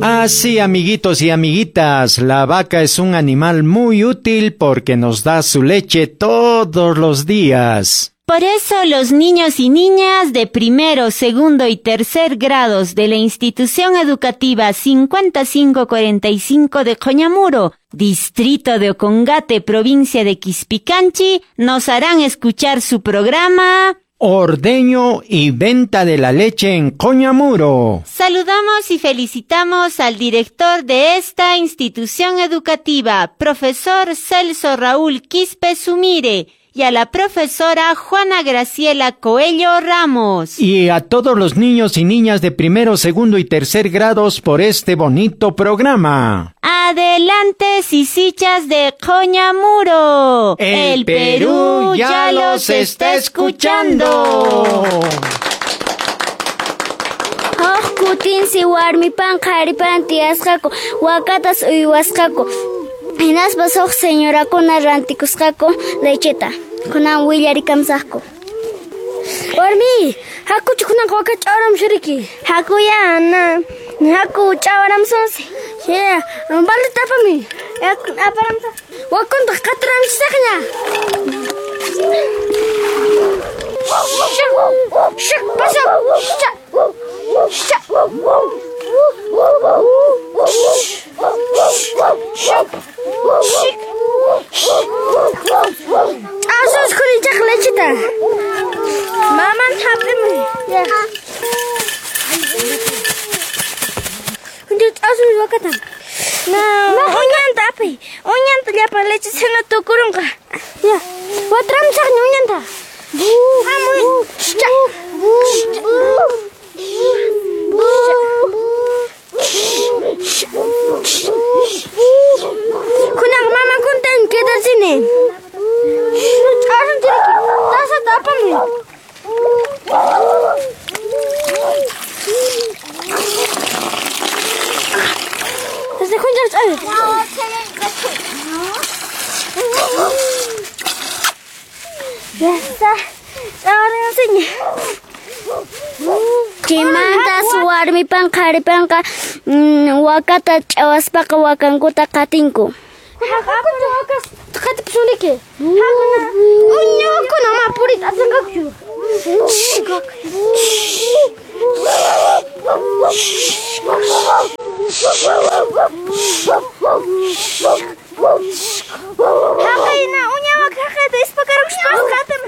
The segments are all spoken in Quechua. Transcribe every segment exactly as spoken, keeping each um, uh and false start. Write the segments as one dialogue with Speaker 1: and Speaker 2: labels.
Speaker 1: Así, amiguitos y amiguitas, la vaca es un animal muy útil porque nos da su leche todos los días.
Speaker 2: Por eso los niños y niñas de primero, segundo y tercer grados de la institución educativa cincuenta y cinco cuarenta y cinco de Coñamuro, distrito de Ocongate, provincia de Quispicanchi, nos harán escuchar su programa
Speaker 1: Ordeño y venta de la leche en Coñamuro.
Speaker 2: Saludamos y felicitamos al director de esta institución educativa, profesor Celso Raúl Quispe Sumire, y a la profesora Juana Graciela Coello Ramos.
Speaker 1: Y a todos los niños y niñas de primero, segundo y tercer grados por este bonito programa.
Speaker 2: Adelante, sisichas de Coñamuro.
Speaker 1: El Perú ya los está escuchando.
Speaker 3: Huk kutinsi warmipan qharipan tiyasqaku, wakatas uywasqaku. Hinaspas huk señorakuna rantikusqaku lecheta. Kunan willarikamusaqku.
Speaker 4: Warmi, hakuchu kunanqa waka ch'awaramusun riki.
Speaker 3: Hakuya, Ana. Haku ch'awaramusunsi.
Speaker 4: Ya, baldeta apami.
Speaker 3: Aparamusaq.
Speaker 4: Wakuntaq qatiramusaqña. Shak, pasa. Shak. Shak. Shak. Shik. Asus kunichaq lecheta. Maman hap'imuy. Ya. Kunchaq asus wakata. Na, uñanta apay. Uñanta llapan leche sena tukurunqa. Ya. Watramusaqña uñanta. Hamuy. Shak. Kunan mama kuntan quedarse. Ch'asun chiriki. Tasata apamuy. Desde kunchaq ch'asun. Ya está. Ch'asun.
Speaker 3: Chaymantas warmipan qharipanqa wakata ch'awaspaqa wakankuta qatinku.
Speaker 4: Hakuchu wakas qatipusuniki. Uña wakuna ma puriyta atinqakuchu. Haqayna uña waka haqayta ispakarukuspas qatim.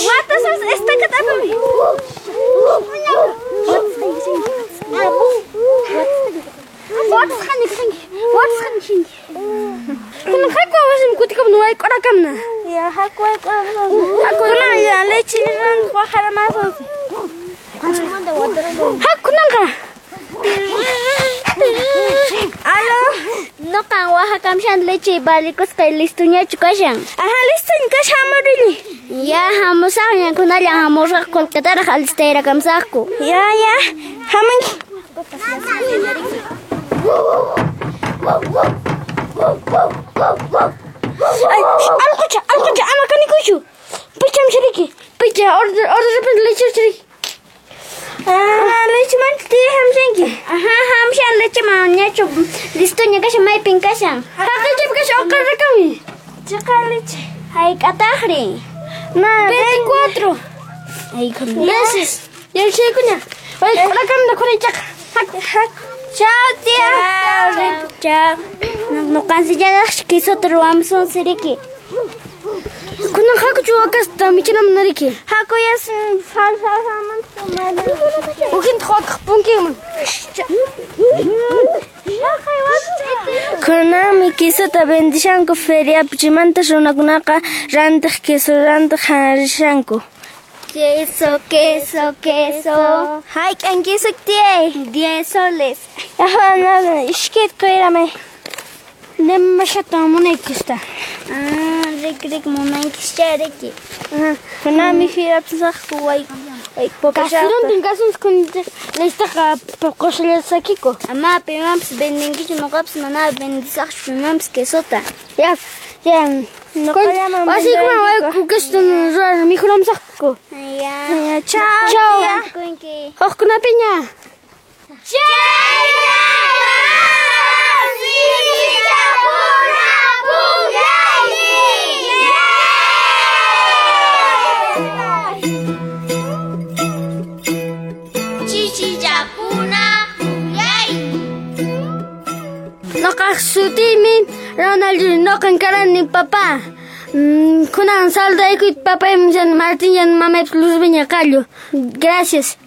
Speaker 4: Watasas estakat apami. Watasqani kanki. Watasqani shinki. Kunan haku wasim kutikamun wayk'urakamna.
Speaker 3: Ya haku wayk'urakamna.
Speaker 4: Kunan ya leche rantiq waqaramasunsi. Haku kunanqa.
Speaker 3: Alo, noqan waqhakamshan leche valikusqay listuñachu kashan.
Speaker 4: Ajá, listuña kashan hamurini.
Speaker 3: Ya hamusaqña kunallan hamusaq qullqitaraq alistayrakamsaqku.
Speaker 4: Ya, ya, hamunki. Ay, allqucha, allqucha, ama kanikuychu. Picham chiriki. Picha, order, order leche chiriki. Ah, leche manta tiya hamshanki.
Speaker 3: Ajá, hamshan leche mañachu listuña kashan maypin kashan.
Speaker 4: Haqaychapi kashan uqarrakami.
Speaker 3: Chiqa leche. Hayk'ataqri?
Speaker 4: Na, veinticuatro. Meses. Yachaykuña. Wayk'urakamna kunanchaqa. Haku, haku.
Speaker 3: Chao, tía. Chao. Nuqansillataq quesota ruwamusunsi riki.
Speaker 4: Kunan hakuchu wakasta michinamuna riki.
Speaker 3: Hakuyas falsasamanta.
Speaker 4: Ukintaq wakaq punkinman. Kunanmi quesota vendishanku feriapi chaymanta runakunaqa rantiq queso rantiq rishanku.
Speaker 3: Queso, queso, queso.
Speaker 4: Hayk'an queso tiyay?
Speaker 3: Diez soles.
Speaker 4: Ajá, nada, ishkayta quyramay. Demasiado munaykista.
Speaker 3: Ah, rik rik munaykischa riki.
Speaker 4: Ajá. Kunanmi feriapi saqku way. Kasurantin kasunsi kun Listaqa poqoshallata sakiko.
Speaker 3: Ama pimanpis vendinkichu, noqapis mana vendisaqchu pimanpis quesota.
Speaker 4: Ya, ya. Wasiykuman wayku quesota rurar mikhunamusaqku.
Speaker 3: Ya.
Speaker 4: Ya, chao. Chao. Hukkunapiña. Noqaq sutiymi Ronald, noqan karani papá. Kunan saludaykuyta papaymi Martín yan mamaypas Luzviña Qallu. Gracias.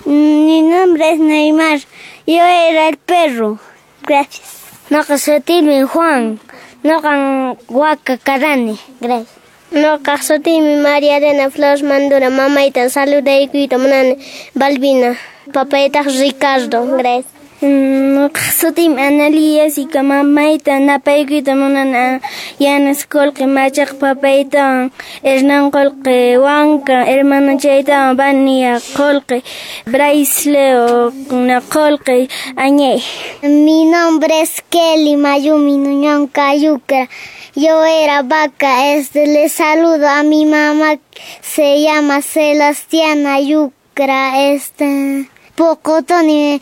Speaker 3: Mi nombre es Neymar. Yo era el perro. Gracias. Noqa sutiymi Juan. Noqan waka karani. Gracias. Noqaq sutiymi María Elena Flores Mandura. Mamayta saludaykuyta munani Balbina. Papaytaq Ricardo. Gracias.
Speaker 4: Noqaq sutiymi Analia y mamayta napaykuyta munani Yanas Qolqe Machaq papaytawan Hernán Qolqe Wanka hermanochaytawan Vania Qolqe Bryce Leo Qolqe Añay.
Speaker 3: Mi nombre es Kelly Mayumi Nuñón Cayucra. Yo era vaca. Este, le saludo a mi mamá, se llama Sebastiana Yucra. Este, Pocotoni